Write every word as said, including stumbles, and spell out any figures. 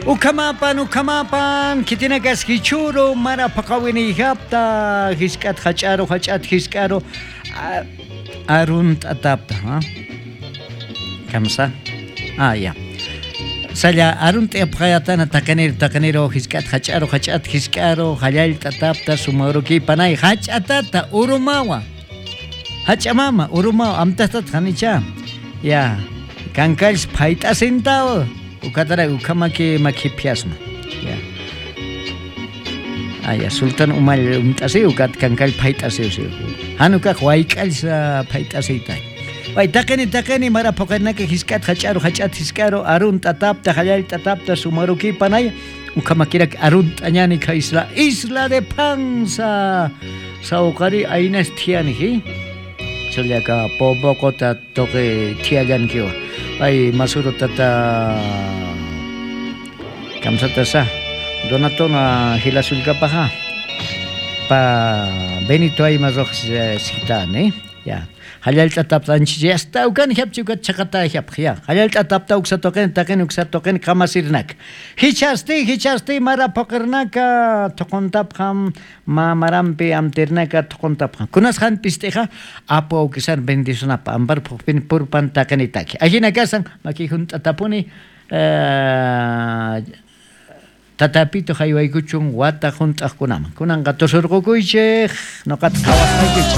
Ukhamapan, ukhamapan, kitinakas hichuro, mara paqawiniyhapta, hisk'at hach'aro, hach'at hisk'aro, arunt atapta, ha? Kamsa? Ah, ya. Salla arunt yapqayatana taqanir taqaniro hisk'at hach'aro, hach'at hisk'aro, hallal tatapta, sumaruki panay, hach'atata, urumawa. Hach'amama, urumawa, amtatat hanicha. Ya, kankalls phayt'asintao. Ukatara ukhamaki makipyasma. Ya. Ah, ya, Sultan umal umt'asi ukat kankal phayt'asi usi. Hanukaq wayk'allsa phayt'asiyta. Pay taqini taqini mara puqarnaka hisk'at hach'aro hach'at hisk'aro arun tatapta hallal tatapta sumaruki panay ukhamakirak arun t'añani ka isla isla de panza sawqari aynas thiyani hi. Challaka popoqota toqi thiyallankiwa. Pay masuro tata kamsata sa Donatona hilasulkapaja pa Benito ay marroj sitane ya halal tatapta anchiyasta ukan hiapchuka chaqata hiap ya halal tatapta uksatoqen taqen uksatoqen kamasirnak hichasti hichasti mara poqirnaka toqontapqam mamarampi amtirnaka toqontapqam kunasqan pistija apu awkisan bendicionapa ampar phuqpin purpan taqenitaki ajina kasan maki junt'atapuni tatapito haywaykuchun wata junt'aqkunaman kunanqa tusurqukuychej noqata qhawasqaykichej.